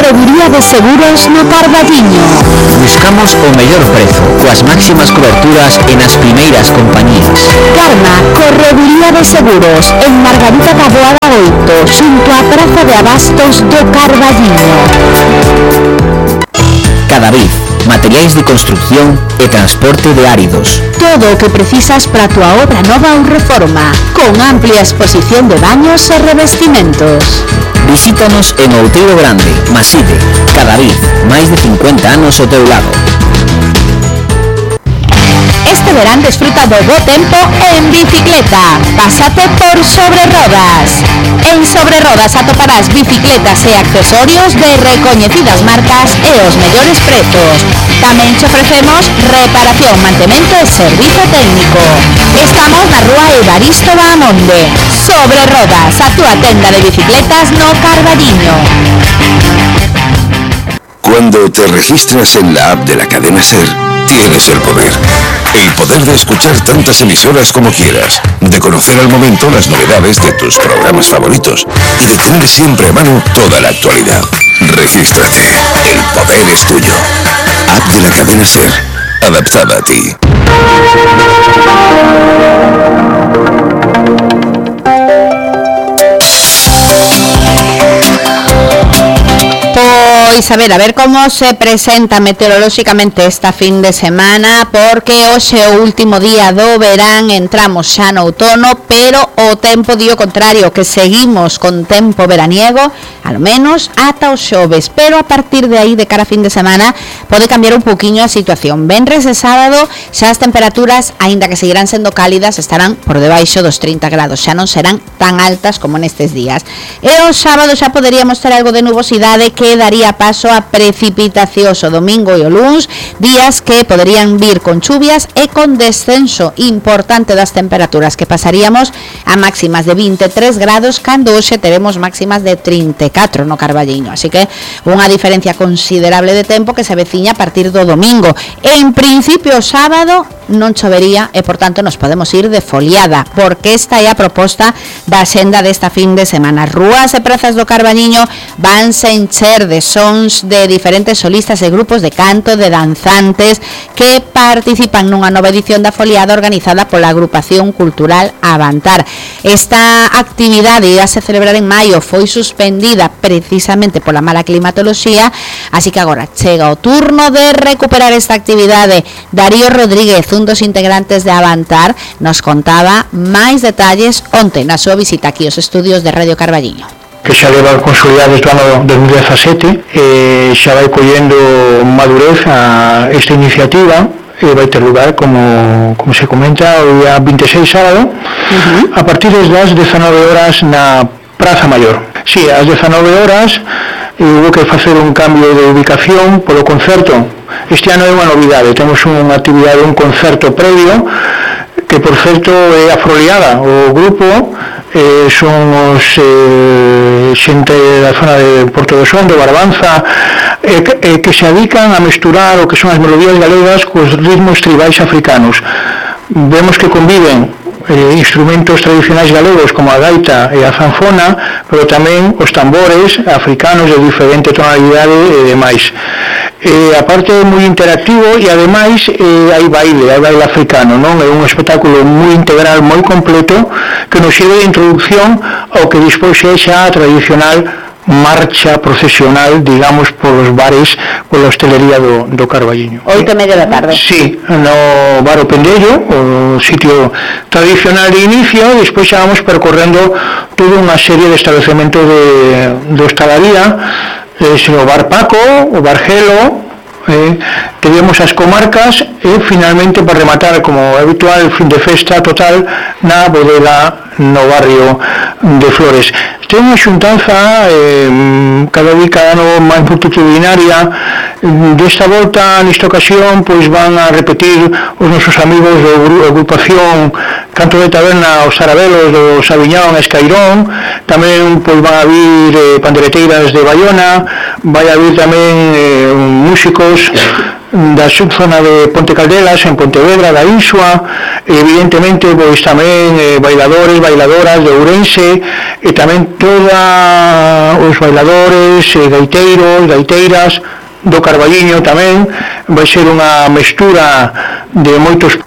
Correduría de Seguros no Carballiño. Buscamos o mellor prezo, coas máximas coberturas e nas primeiras compañías. Karma, Correduría de Seguros, en Margarita Taboada 8, xunto á Praza de Abastos do Carballiño. Cadavid, materiais de construcción e transporte de áridos. Todo o que precisas para a tua obra nova ou reforma, con amplia exposición de baños e revestimentos. Visítanos en Outeiro Grande, Maside. Cadavid, máis de 50 anos ao teu lado. Este verán desfruta do bo tempo en bicicleta. Pásate por Sobre Rodas. En Sobre Rodas atoparás bicicletas e accesorios de recoñecidas marcas e os mellores prezos. Tamén te ofrecemos reparación, mantemento e servizo técnico. Estamos na rúa Evaristo Bahamonde. Sobre Rodas, a túa tenda de bicicletas no Carballiño. Cuando te registras en la app de la cadena SER, tienes el poder. El poder de escuchar tantas emisoras como quieras, de conocer al momento las novedades de tus programas favoritos y de tener siempre a mano toda la actualidad. Regístrate. El poder es tuyo. App de la cadena SER, adaptada a ti. Pois a ver como se presenta meteorolóxicamente esta fin de semana, porque hoxe é o último día do verán, entramos xa no outono, pero o tempo di o contrario, que seguimos con tempo veraniego, ao menos ata os xoves, pero a partir de aí, de cara a fin de semana, pode cambiar un poquinho a situación. Venres e sábado xa as temperaturas, aínda que seguirán sendo cálidas, estarán por debaixo dos 30 grados, xa non serán tan altas como nestes días. E o sábado xa poderíamos ter algo de nubosidade que daría paso a precipitacións o domingo e o luns, días que poderían vir con chuvias e con descenso importante das temperaturas, que pasaríamos a máximas de 23 grados cando hoxe teremos máximas de 34 no Carballiño, así que unha diferencia considerable de tempo que se veciña a partir do domingo. En principio o sábado non chovería e por tanto nos podemos ir de foliada, porque esta é a proposta da senda desta fin de semana. Rúas e prazas do Carballiño vanse encher de sons de diferentes solistas e grupos de canto, de danzantes que participan nunha nova edición da foliada organizada pola agrupación cultural Avantar. Esta actividade ia se celebrar en maio, foi suspendida precisamente pola mala climatoloxía, así que agora chega o turno de recuperar esta actividade. Darío Rodríguez, un dos integrantes de Avantar, nos contaba máis detalles onte na súa visita aquí aos estudios de Radio Carballiño. Que xa leva consolidada desde o ano 2017, xa vai collendo madurez a esta iniciativa e vai ter lugar, como se comenta, o día 26 sábado, a partir das 19 horas na Praza Maior. Si, ás 19 horas hubo que facer un cambio de ubicación polo concerto. Este ano é unha novidade, temos unha actividade, un concerto previo, que por certo é afroliada. O grupo son os xente da zona de Porto do Son, de Barbanza, que se dedican a mesturar o que son as melodías galegas cos ritmos tribais africanos. Vemos que conviven instrumentos tradicionais galegos como a gaita e a zanfona, pero tamén os tambores africanos de diferente tonalidade e demais. A parte é moi interactivo e ademais hai baile africano, non? É un espectáculo moi integral, moi completo, que nos sirve de introducción ao que despois é xa a tradicional marcha procesional, digamos, polos bares, pola hostelería do Carballiño. 8:30 da tarde. Sí, no bar O Pendello, o sitio tradicional de inicio, e despois xa vamos percorrendo toda unha serie de establecemento de hostalaría, o bar Paco, o bar Gelo, teníamos as comarcas e finalmente, para rematar, como habitual, fin de festa total na bodega no barrio de Flores. Ten unha xuntanza cada ano máis multitudinaria. Desta volta, nesta ocasión, pois van a repetir os nosos amigos da agrupación Canto de Taberna, os Sarabelos do Sabiñón e Escairón. Tamén pois van a vir pandereteiras de Baiona, vai a vir tamén músicos da subzona de Ponte Caldelas, en Pontevedra, da Insua, evidentemente pois tamén bailadores, bailadoras de Ourense, e tamén todos os bailadores, gaiteiros, gaiteiras do Carballiño tamén. Vai ser unha mestura de moitos.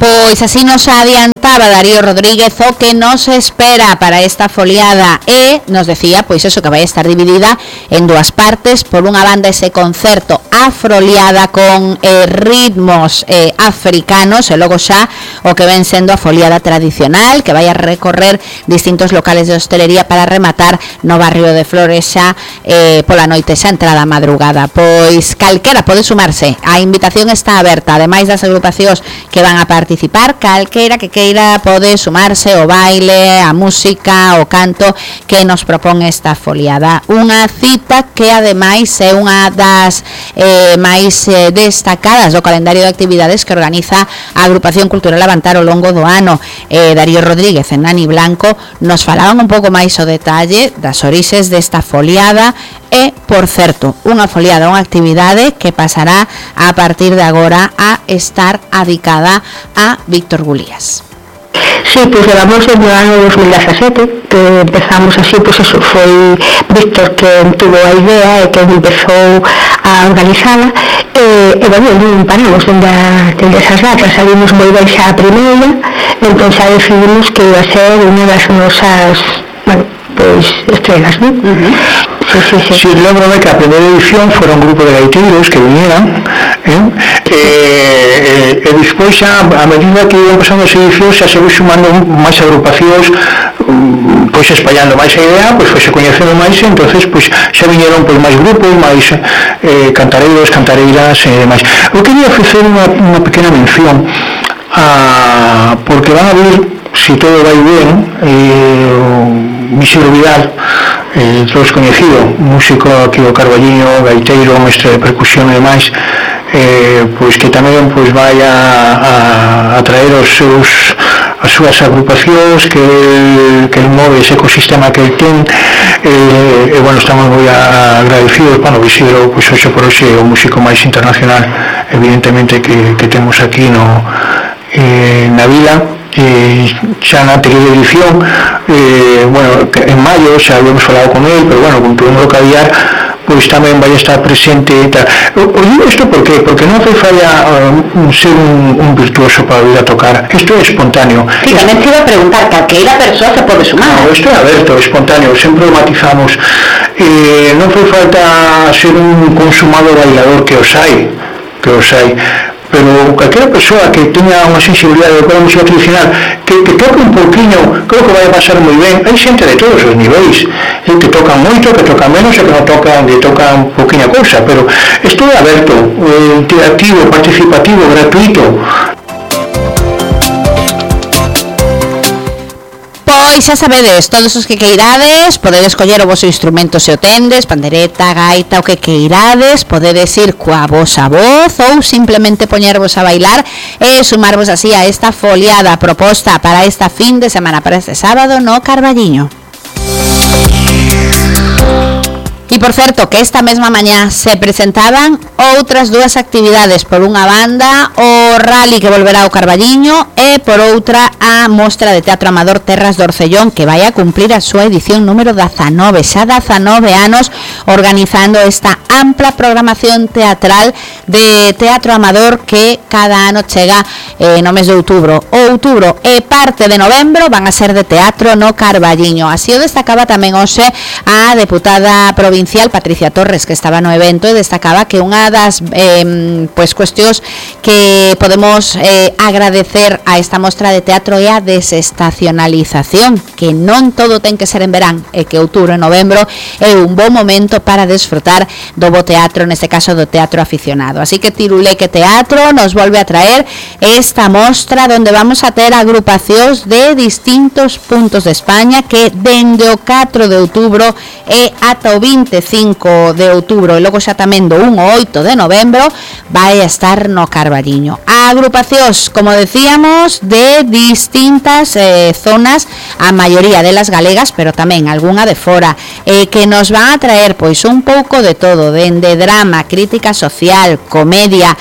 Pois así nos adiantaba Darío Rodríguez o que nos espera para esta foliada, e nos decía pois eso, que vai estar dividida en dúas partes. Por unha banda ese concerto afroliada con ritmos africanos, e logo xa o que ven sendo a foliada tradicional, que vai a recorrer distintos locales de hostelería para rematar no barrio de Flores xa pola noite, xa entrada a madrugada. Pois calquera pode sumarse, a invitación está aberta, ademais das agrupacións que van a participar, calquera que queira pode sumarse ao baile, a música, o canto que nos propón esta foliada. Unha cita que ademais é unha das máis destacadas do calendario de actividades que organiza a Agrupación Cultural Avantar ao longo do ano. Darío Rodríguez e Nani Blanco nos falaban un pouco máis o detalle das orixes desta foliada. E, por certo, unha foliada, unha actividade que pasará a partir de agora a estar adicada a Víctor Gulías. Sí, pois levamos desde o ano 2017 que empezamos así, pois eso, foi Víctor que tuvo a idea e que empezou a organizala, e bueno, non paramos dende esas datas, salimos moi ben xa a primeira, entón xa decidimos que iba a ser unha das nosas, bueno, pois estrelas, non? Sí, lembro-me que a primeira edición fora un grupo de gaiteiros que vinieran, e despois xa, a medida que iban pasando as edicións, xa se foi sumando máis agrupacións, pois espallando máis a idea, pois foi se coñecendo máis, e entonces pois xa viñeron pois máis grupos, máis cantareiros, cantareiras e demais. Eu quería facer unha pequena mención porque van a vir, se todo vai ben, Mixero Vidal, todos coñecido, músico aquí do Carballiño, gaiteiro, mestre de percusión e demais, pois que tamén pois vai a traer as súas agrupacións que el move, ese ecosistema que el ten, e bueno, estamos moi agradecidos. Bueno, Mixero, pois hoxe por hoxe é o músico máis internacional evidentemente que temos aquí na vila. Xa na anterior edición, bueno, en maio xa habíamos falado con ele, pero bueno, con todo o caviar, pois tamén vai estar presente e tal. O digo isto porque non fai falla ser un virtuoso para vir a tocar, isto é espontáneo. Sí, tamén te iba a preguntar, calqueira persoa se pode sumar. No, isto é aberto, espontáneo, sempre o matizamos. Non fai falta ser un consumado bailador que os hai, pero calquera persoa que teña unha sensibilidade de música tradicional que toque un pouquinho, creo que vai a pasar moi ben. Hai xente de todos os niveis, que tocan moito, que tocan menos e que non tocan, que tocan pouquinha cousa, pero isto é aberto, interactivo, participativo, gratuito. Pois xa sabedes, todos os que queirades podedes coller o vosso instrumento se o tendes, pandereta, gaita, o que queirades, podedes ir coa vosa voz ou simplemente poñervos a bailar e sumarvos así a esta foliada proposta para esta fin de semana, para este sábado no Carballiño. E por certo, que esta mesma mañá se presentaban outras dúas actividades. Por unha banda, o rally que volverá ao Carballiño, e por outra, a Mostra de Teatro Amador Terras do Orcellón, que vai a cumplir a súa edición número 19, xa 19 anos organizando esta ampla programación teatral de teatro amador que cada ano chega no mes de outubro. Outubro e parte de novembro van a ser de teatro no Carballiño. Así o destacaba tamén hoxe a deputada provincial Patricia Torres, que estaba no evento, e destacaba que unha das cuestións que podemos agradecer a esta mostra de teatro é a desestacionalización, que non todo ten que ser en verán, e que outubro e novembro é un bom momento para desfrutar do bo teatro, neste caso do teatro aficionado. Así que Tiruleque Teatro nos volve a traer esta mostra onde vamos a ter agrupacións de distintos puntos de España que dende o 4 de outubro e ata o 25 de outubro e logo xa tamén do 1 ao 8 de novembro vai a estar no Carballiño. A agrupacións, como decíamos, de distintas zonas, a maioría delas galegas, pero tamén algunha de fora. que nos van a traer pois un pouco de todo, dende drama, crítica social, comedia,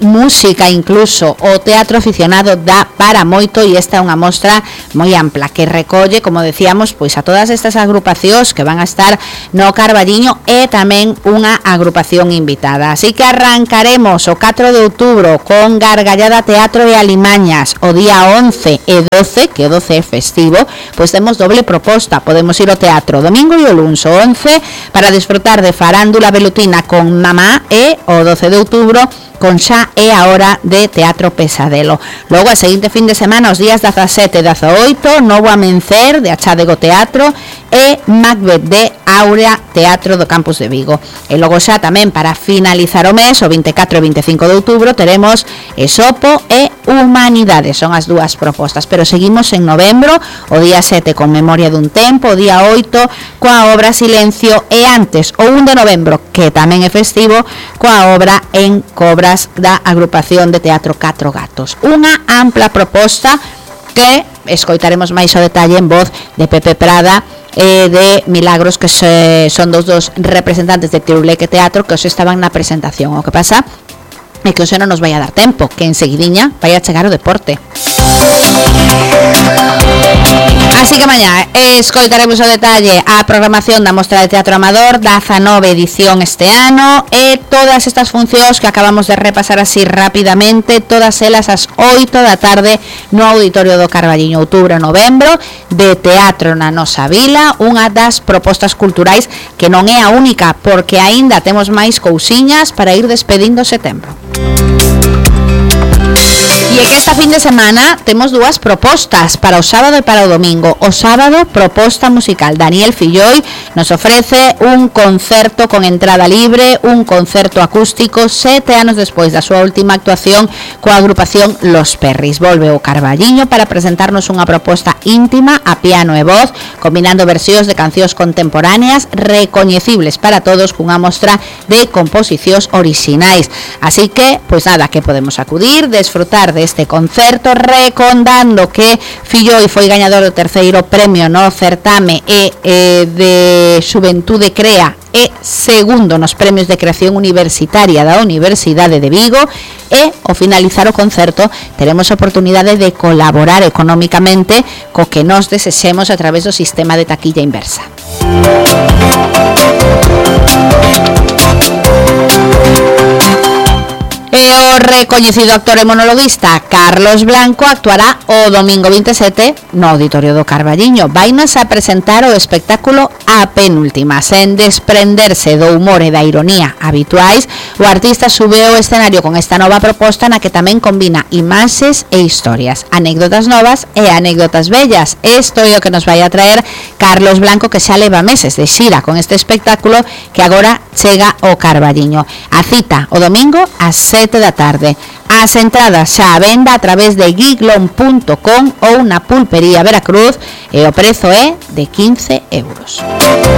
música incluso. O teatro aficionado dá para moito e esta é unha mostra moi ampla que recolle, como decíamos, pois a todas estas agrupacións que van a estar no Carballiño e tamén unha agrupación invitada. Así que arrancaremos o 4 de outubro con Gargallada Teatro e Alimañas. O día 11 e 12, que o 12 é festivo, pois temos doble proposta. Podemos ir ao teatro domingo e o luns, o 11 para disfrutar de farándula velutina con Mamá e o 12 de outubro con Xa é a hora de Teatro Pesadelo. Logo, a seguinte fin de semana, os días 17 e 18, Novo Amencer de Achádego Teatro e Macbeth de Áurea Teatro do Campus de Vigo. E logo xa tamén para finalizar o mes, o 24 e 25 de outubro, teremos Esopo e Humanidades. Son as dúas propostas, pero seguimos en novembro, o día 7 con Memoria dun Tempo, o día 8 coa obra Silencio e antes, o 1 de novembro, que tamén é festivo, coa obra En Cobra da agrupación de teatro Catro Gatos. Unha ampla proposta que escoitaremos máis o detalle en voz de Pepe Prada e de Milagros, que son dos representantes de Tiruleque Teatro que os estaban na presentación. O que pasa é que hoxe non nos vai a dar tempo, que enseguidiña vai a chegar o deporte. Así que mañá escoitaremos o detalle a programación da Mostra de Teatro Amador, 19 edición este ano, e todas estas funcións que acabamos de repasar así rapidamente, todas elas ás 8 da tarde no Auditorio do Carballiño. Outubro e novembro, de teatro na nosa vila, unha das propostas culturais que non é a única, porque aínda temos máis cousiñas para ir despedindo setembro. E é que esta fin de semana temos dúas propostas para o sábado e para o domingo. O sábado, proposta musical. Daniel Filloi nos ofrece un concerto con entrada libre, un concerto acústico 7 anos despois da súa última actuación coa agrupación Los Perris. Volve ao Carballiño para presentarnos unha proposta íntima a piano e voz, combinando versións de cancións contemporáneas recoñecibles para todos cunha mostra de composicións orixinais. Así que, pois nada, que podemos acudir, desfrutar deste concerto, recordando que Filloi foi gañador do terceiro premio no certame de Xuventude Crea e segundo nos premios de creación universitaria da Universidade de Vigo, e ao finalizar o concerto teremos a oportunidade de colaborar económicamente co que nos desexemos a través do sistema de taquilla inversa. E o recoñecido actor e monologuista Carlos Blanco actuará o domingo 27 no Auditorio do Carballiño. Vainos a presentar o espectáculo A Penúltima. Sen desprenderse do humor e da ironía habituais, o artista sube ao escenario con esta nova proposta na que tamén combina imaxes e historias, anécdotas novas e anécdotas bellas. Isto é o que nos vai a traer Carlos Blanco, que xa leva meses de xira con este espectáculo que agora chega ao Carballiño. A cita o domingo ás 7 da tarde. As entradas xa a venda a través de giglon.com ou na Pulpería Veracruz e o prezo é de 15 euros.